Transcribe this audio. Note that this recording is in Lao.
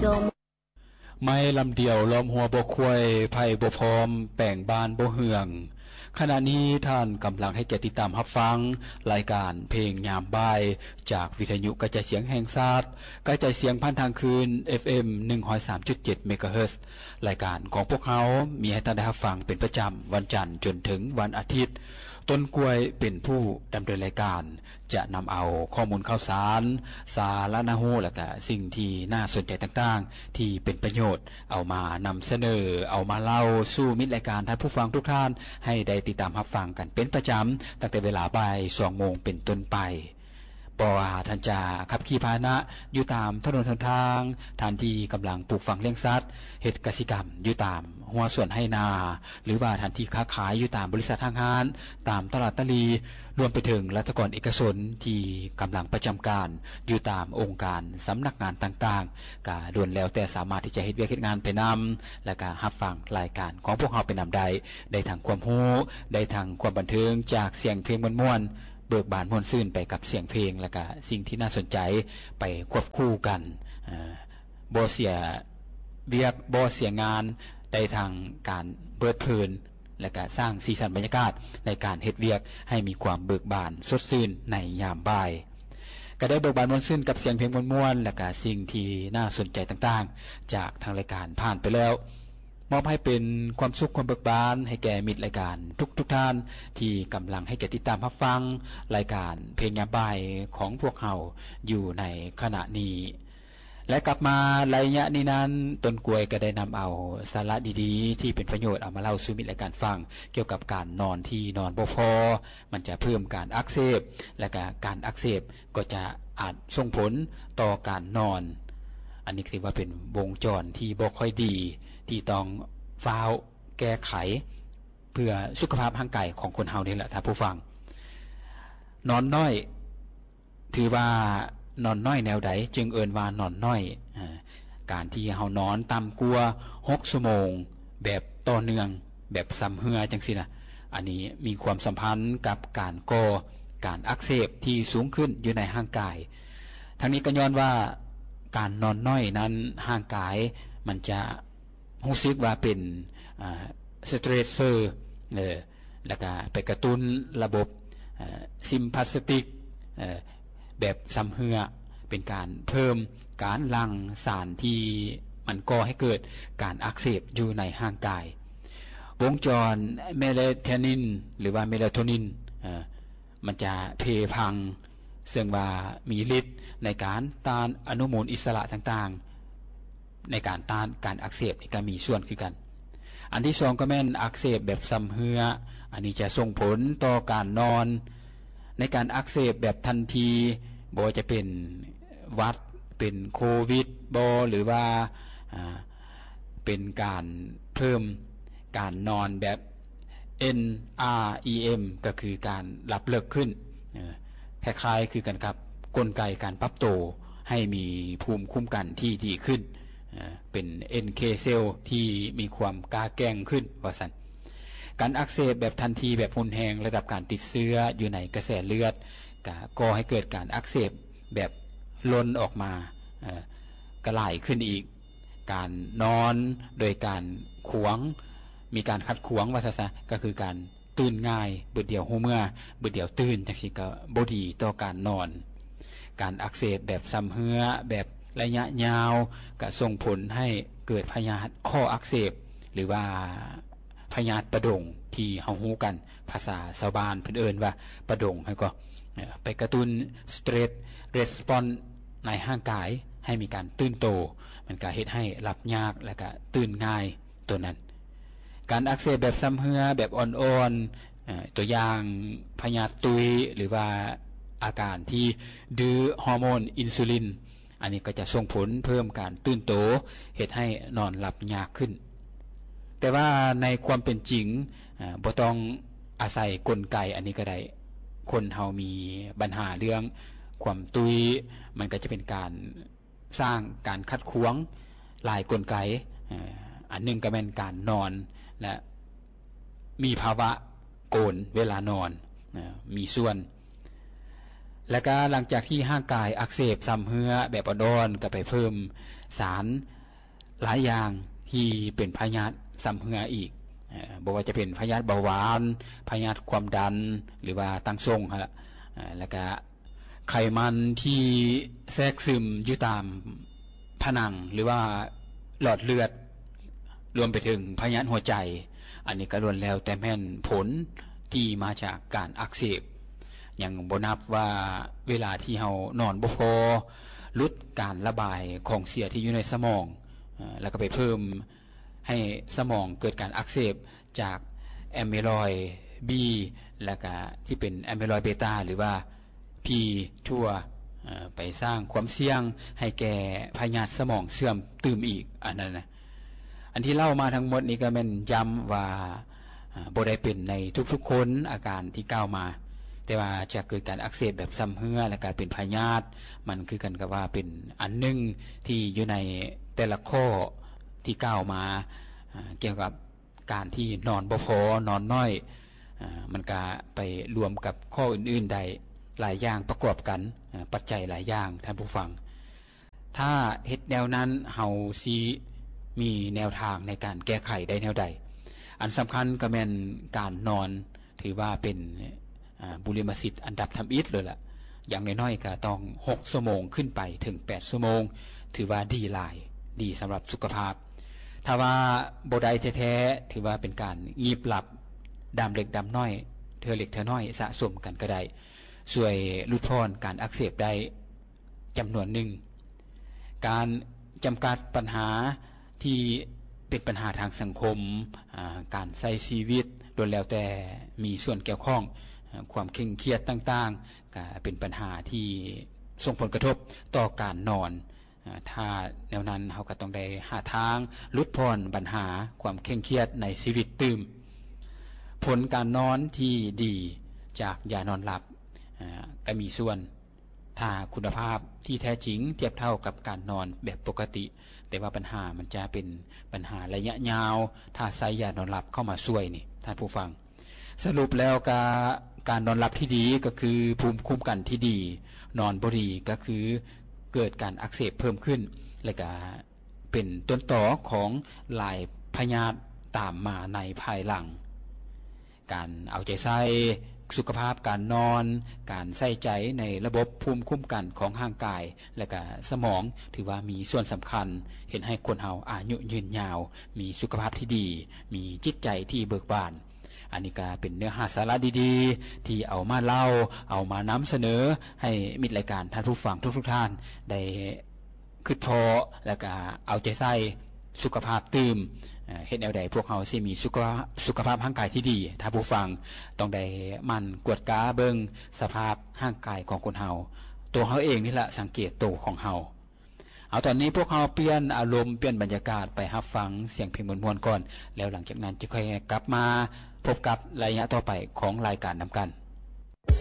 ຈອມ ໄມ້ລຳດຽວລ້ອມຫົວບໍ່ຄວາຍ ໄຜ່ບໍ່ພ້ອມແປງບ້ານບໍ່ເຮືອງ. ຂະນະນີ້ທ່ານກຳລັງໃຫ້ກຽດຕິດຕາມຮັບຟັງລາຍການເພງຍາມບ່າຍ ຈາກວິທະຍຸກະຈາຍສຽງແຫ່ງຊາດ, ກະຈາຍສຽງຜ່ານທາງຄື້ນ ເອັຟເອັມ ໜຶ່ງຮ້ອຍສາມຈຸດເຈັດ ເມກາເຮີດ. ລາຍການຂອງພວກເຮົາມີໃຫ້ທ່ານໄດ້ຮັບຟັງເປັນປະຈຳວັນຈັນຈົນເຖິງວັນອາທິດ. ຕົ້ນກ້ວຍເປັນຜູ້ດຳເນີນລາຍການ ຈະນຳເອົາຂໍ້ມູນຂ່າວສານ, ສາລະໜ້າຮູ້ ແລະກະສິ່ງທີ່ໜ້າສົນໃຈຕ່າງໆ ທີ່ເປັນປະໂຫຍດ ເອົາມານຳສະເໜີ, ເອົາມາເລົ່າສູ່ມິດລາຍການ, ທ່ານຜູ້ຟັງທຸກທ່ານ ໃຫ້ໄດ້ຕິດຕາມຮັບຟັງກັນເປັນປະຈຳ ຕັ້ງແຕ່ເວລາບ່າຍສອງໂມງເປັນຕົ້ນໄປ. ບໍ່ວ່າທ່ານຈະຂັບຂີ່ພາຫະນະຢູ່ຕາມຖະໜົນຫົນທາງ, ທ່ານທີ່ກຳລັງປູກຝັງລ້ຽງສັດ, ເຮັດກະສິກຳຢູ່ຕາມຮົ້ວສວນໄຮ່ນາ, ຫຼືວ່າທ່ານທີ່ຄ້າຂາຍຢູ່ຕາມບໍລິສັດຫ້າງຮ້ານ, ຕາມຕະຫຼາດຕະຫຼີ່, ລວມໄປເຖິງລັດຖະກອນເອກະຊົນທີ່ກຳລັງປະຈຳການຢູ່ຕາມອົງການສຳນັກງານຕ່າງໆ, ກະລ້ວນແລ້ວແຕ່ສາມາດທີ່ຈະເຮັດວຽກເຮັດງານໄປນຳ ແລະກະຮັບຟັງລາຍການຂອງພວກເຮົາໄປນຳໄດ້, ໄດ້ທັງຄວາມຮູ້, ໄດ້ທັງຄວາມບັນເທີງຈາກສຽງເພງມ່ວນໆ, ເບີກບານມ່ວນຊື່ນໄປກັບສຽງເພງ ແລະກະສິ່ງທີ່ໜ້າສົນໃຈໄປຄວບຄູ່ກັນ, ເອີ ບໍ່ເສຍວຽກ ບໍ່ເສຍງານ, ໄດ້ທັງການເພີດເພີນ ແລະກະສ້າງສີສັນບັນຍາກາດໃນການເຮັດວຽກໃຫ້ມີຄວາມເບີກບານສົດຊື່ນໃນຍາມບ່າຍ. ກະໄດ້ເບີກບານມ່ວນຊື່ນກັບສຽງເພງມ່ວນໆ ແລະກະສິ່ງທີ່ໜ້າສົນໃຈຕ່າງໆ ຈາກທາງລາຍການຜ່ານໄປແລ້ວ. ມອບໃຫ້ເປັນຄວາມສຸກຄວາມເບີກບານໃຫ້ແກ່ມິດລາຍການທຸກໆທ່ານ ທີ່ກຳລັງໃຫ້ກຽດຕິດຕາມຮັບຟັງລາຍການເພງຍາມບ່າຍຂອງພວກເຮົາຢູ່ໃນຂະນະນີ້. ແລະກັບມາໄລຍະນີ້ນັ້ນ, ຕົ້ນກ້ວຍກໍໄດ້ນຳເອົາສາລະດີໆທີ່ເປັນປະໂຫຍດເອົາມາເລົ່າສູ່ມິດລາຍການຟັງ ກ່ຽວກັບການນອນທີ່ນອນບໍ່ພໍ, ມັນຈະເພີ່ມການອັກເສບ ແລະກະການອັກເສບກໍຈະອາດສົ່ງຜົນຕໍ່ການນອນ. ອັນນີ້ຖືວ່າເປັນວົງຈອນທີ່ບໍ່ຄ່ອຍດີ ທີ່ຕ້ອງຟ້າວແກ້ໄຂ ເພື່ອສຸຂະພາບຮ່າງກາຍຂອງຄົນເຮົານີ້ແຫຼະທ່ານຜູ້ຟັງ. ນອນນ້ອຍ ຖືວ່ານອນນ້ອຍແນວໃດຈຶ່ງເອີ້ນວ່ານອນນ້ອຍ? ອາ ການທີ່ເຮົານອນຕ່ຳກວ່າຫົກຊົ່ວໂມງແບບຕໍ່ເນື່ອງ ແບບຊຳເຮື້ອຈັ່ງຊີ້ນະ, ອັນນີ້ມີຄວາມສຳພັນກັບການກໍ່ການອັກເສບທີ່ສູງຂຶ້ນຢູ່ໃນຮ່າງກາຍ. ທັງນີ້ກໍຍ້ອນວ່າການນອນນ້ອຍນັ້ນ ຮ່າງກາຍມັນຈະ ຮູ້ສຶກວ່າເປັນ ອາ stressor ເອີ ແລ້ວກະໄປກະຕຸ້ນລະບົບ ອາ sympathetic ເອີ ແບບຊຳເຮື້ອ, ເປັນການເພີ່ມການຫຼັ່ງສານທີ່ມັນກໍ່ໃຫ້ເກີດການອັກເສບຢູ່ໃນຮ່າງກາຍ. ວົງຈອນ melatonin ຫຼືວ່າ melatonin ເອີ ມັນຈະເພພັງ ເຊິ່ງວ່າມີລິດໃນການຕ້ານອະນຸມູນອິດສະຫຼະຕ່າງໆ ໃນການຕ້ານການອັກເສບນີ້ກໍມີສ່ວນຄືກັນ. ອັນທີສອງກໍແມ່ນອັກເສບແບບຊຳເຮື້ອ, ອັນນີ້ຈະສົ່ງຜົນຕໍ່ການນອນ. ໃນການອັກເສບແບບທັນທີ, ບໍ່ວ່າຈະເປັນຫວັດ, ເປັນໂຄວິດບໍ ຫຼືວ່າ ອາ ເປັນການເພີ່ມການນອນແບບ NREM ກໍຄືການຫຼັບເລິກຂຶ້ນ, ເອີ ຄ້າຍໆຄືກັນກັບກົນໄກການປັບໂຕໃຫ້ມີພູມຄຸ້ມກັນທີ່ດີຂຶ້ນ, ເອີ ເປັນ NK cell ທີ່ມີຄວາມກ້າແກ່ງຂຶ້ນວ່າຊັ້ນ. ການອັກເສບແບບທັນທີ ແບບຮຸນແຮງ, ລະດັບການຕິດເຊື້ອຢູ່ໃນກະແສເລືອດກະກໍ່ໃຫ້ເກີດການອັກເສບແບບລົ້ນອອກມາ ເອີ ກະຫຼາຍຂຶ້ນອີກ. ການນອນໂດຍການຂວາງ, ມີການຂັດຂວາງວ່າຊະຊະ, ກໍຄືການຕື່ນງ່າຍ, ບຶດດຽວຮູ້ເມື່ອ, ບຶດດຽວຕື່ນ, ຈັ່ງຊີ້ກໍບໍ່ດີຕໍ່ການນອນ. ການອັກເສບແບບຊຳເຮື້ອ, ແບບໄລຍະຍາວ, ກໍສົ່ງຜົນໃຫ້ເກີດພະຍາດຂໍ້ອັກເສບ ຫຼືວ່າ ພະຍາດປະດົງທີ່ເຮົາຮູ້ກັນ, ພາສາຊາວບ້ານເພິ່ນເອີ້ນວ່າປະດົງຫັ້ນກໍ ເອີ ໄປກະຕຸ້ນ stress response ໃນຮ່າງກາຍໃຫ້ມີການຕື່ນໂຕ, ມັນກະເຮັດໃຫ້ຫຼັບຍາກ ແລະກະຕື່ນງ່າຍໂຕນັ້ນ. ການອັກເສບແບບຊຳເຮື້ອແບບອ່ອນໆ, ເອີ ຕົວຢ່າງພະຍາດຕຸ້ຍ ຫຼືວ່າອາການທີ່ດື້ຮໍໂມນອິນຊູລິນ, ອັນນີ້ກໍຈະສົ່ງຜົນເພີ່ມການຕື່ນໂຕ, ເຮັດໃຫ້ນອນຫຼັບຍາກຂຶ້ນ. ແຕ່ວ່າໃນຄວາມເປັນຈິງ, ອາ, ບໍ່ຕ້ອງອາໄສກົນໄກອັນນີ້ກໍໄດ້. ຄົນເຮົາມີບັນຫາເລື່ອງຄວາມຕຸ້ຍ, ມັນກໍຈະເປັນການສ້າງການຂັດຂວາງຫຼາຍກົນໄກ. ອາ, ອັນໜຶ່ງກໍແມ່ນການນອນ ແລະ ມີພາວະໂກນເວລານອນ, ອາ, ມີສ່ວນ. ແລະກະຫຼັງຈາກທີ່ຮ່າງກາຍອັກເສບຊຳເຮື້ອແບບອ່ອນໆ ກໍໄປເພີ່ມສານຫຼາຍຢ່າງທີ່ເປັນພະຍາດຊຳເຮື້ອອີກ ເອີ່ ບໍ່ວ່າຈະເປັນພະຍາດເບົາຫວານ, ພະຍາດຄວາມດັນ ຫຼືວ່າຕັ້ງຊົງຫັ້ນລະ ເອີ່ ແລະກະໄຂມັນທີ່ແຊກຊຶມຢູ່ຕາມຜະໜັງ ຫຼືວ່າຫຼອດເລືອດ ລວມໄປເຖິງພະຍາດຫົວໃຈ ອັນນີ້ກໍລ້ວນແລ້ວແຕ່ແມ່ນຜົນທີ່ມາຈາກການອັກເສບ ຍັງບໍ່ນັບວ່າເວລາທີ່ເຮົານອນບໍ່ພໍ ຫຼຸດການລະບາຍຂອງເສຍທີ່ຢູ່ໃນສະໝອງ ເອີ່ ແລ້ວກໍໄປເພີ່ມໃຫ້ສະໝອງເກີດການອັກເສບຈາກແອມເມລອຍບີ ແລ້ວກໍທີ່ເປັນແອມເມລອຍເບຕາ ຫຼືວ່າ ພີທົວ ເອີ່ ໄປສ້າງຄວາມສ່ຽງໃຫ້ແກ່ພະຍາດສະໝອງເສື່ອມຕື່ມອີກ ອັນນັ້ນນະ. ອັນທີ່ເລົ່າມາທັງໝົດນີ້ກໍແມ່ນຢ້ຳວ່າ ເອີ່ ບໍ່ໄດ້ເປັນໃນທຸກໆຄົນອາການທີ່ກ່າວມາ ແຕ່ວ່າຈະເກີດການອັກເສບແບບຊຳເຮື້ອ ແລະກະເປັນພະຍາດ ມັນຄືກັນກັບວ່າເປັນອັນໜຶ່ງທີ່ຢູ່ໃນແຕ່ລະຂໍ້ທີ່ກ່າວມາ ເອີ່ ກ່ຽວກັບ ການທີ່ນອນບໍ່ພໍ ນອນໜ້ອຍ ເອີ່ ມັນກະໄປລວມກັບຂໍ້ອື່ນໆໄດ້ ຫຼາຍຢ່າງປະກອບກັນ ເອີ່ ປັດໄຈຫຼາຍຢ່າງ ທ່ານຜູ້ຟັງ. ຖ້າເຮັດແນວນັ້ນ ເຮົາຊິມີແນວທາງໃນການແກ້ໄຂໄດ້ແນວໃດ? ອັນສຳຄັນກໍແມ່ນການນອນ ຖືວ່າເປັນ ອາ ບຸລິມະສິດອັນດັບທຳອິດເລີຍລະ ຢ່າງໜ້ອຍໆກໍຕ້ອງຫົກຊົ່ວໂມງຂຶ້ນໄປເຖິງແປດຊົ່ວໂມງ ຖືວ່າດີຫຼາຍ ດີສຳລັບສຸຂະພາບ. ຖ້າວ່າບໍ່ໄດ້ແທ້ໆ ຖືວ່າເປັນການງີບຫຼັບ ດາມເລັກດາມນ້ອຍ ເທື່ອເລັກເທື່ອນ້ອຍສະສົມກັນກໍໄດ້ ຊ່ວຍຫຼຸດຜ່ອນການອັກເສບໄດ້ ຈຳນວນໜຶ່ງ. ການຈຳກັດບັນຫາທີ່ເປັນບັນຫາທາງສັງຄົມ ອາ ການໃຊ້ຊີວິດ ລ້ວນແລ້ວແຕ່ມີສ່ວນກ່ຽວຂ້ອງ ອາ ຄວາມເຄັ່ງຄຽດຕ່າງໆ ກະເປັນບັນຫາທີ່ສົ່ງຜົນກະທົບຕໍ່ການນອນ. ອາ ຖ້າແນວນັ້ນ ເຮົາກະຕ້ອງໄດ້ຫາທາງຫຼຸດຜ່ອນບັນຫາຄວາມເຄັ່ງຄຽດໃນຊີວິດຕື່ມ. ຜົນການນອນທີ່ດີຈາກຢານອນຫຼັບ ອາ ກະມີສ່ວນ ຖ້າຄຸນນະພາບທີ່ແທ້ຈິງທຽບເທົ່າກັບການນອນແບບປົກກະຕິ ແຕ່ວ່າບັນຫາມັນຈະເປັນບັນຫາໄລຍະຍາວ ຖ້າໃຊ້ຢານອນຫຼັບເຂົ້າມາຊ່ວຍນີ້ ທ່ານຜູ້ຟັງ. ສະຫຼຸບແລ້ວກະ ການນອນຫຼັບທີ່ດີກໍຄືພູມຄຸ້ມກັນທີ່ດີ, ນອນບໍ່ດີກໍຄືເກີດການອັກເສບເພີ່ມຂຶ້ນ ແລະກະເປັນຕົ້ນຕໍຂອງຫຼາຍພະຍາດຕາມມາໃນພາຍຫຼັງ. ການເອົາໃຈໃສ່ສຸຂະພາບການນອນ, ການໃສ່ໃຈໃນລະບົບພູມຄຸ້ມກັນຂອງຮ່າງກາຍ ແລະກະສະໝອງ ຖືວ່າມີສ່ວນສຳຄັນ ເຮັດໃຫ້ຄົນເຮົາອາຍຸຍືນຍາວ, ມີສຸຂະພາບທີ່ດີ, ມີຈິດໃຈທີ່ເບີກບານ. ອັນນີ້ກະເປັນເນື້ອຫາສາລະດີໆ ທີ່ເອົາມາເລົ່າ, ເອົາມານຳສະເໜີໃຫ້ມິດລາຍການ, ທ່ານຜູ້ຟັງທຸກໆທ່ານໄດ້ ຄຶດພໍ້ ແລ້ວກະເອົາໃຈໃສ່ສຸຂະພາບຕື່ມ. ເອີ່ ເຮັດແນວໃດພວກເຮົາຊິມີສຸຂະ ສຸຂະພາບຮ່າງກາຍທີ່ດີ? ທ່ານຜູ້ຟັງຕ້ອງໄດ້ໝັ່ນກວດກາເບິ່ງສະພາບຮ່າງກາຍຂອງຄົນເຮົາ. ໂຕເຮົາເອງນີ້ລະສັງເກດໂຕຂອງເຮົາ. ເອົາ ຕອນນີ້ພວກເຮົາປ່ຽນອາລົມ, ປ່ຽນບັນຍາກາດໄປຮັບຟັງສຽງເພງມ່ວນໆກ່ອນ, ແລ້ວຫຼັງຈາກນັ້ນຈຶ່ງຄ່ອຍກັບມາພົບກັບໄລຍະຕໍ່ໄປຂອງລາຍການນຳກັນ.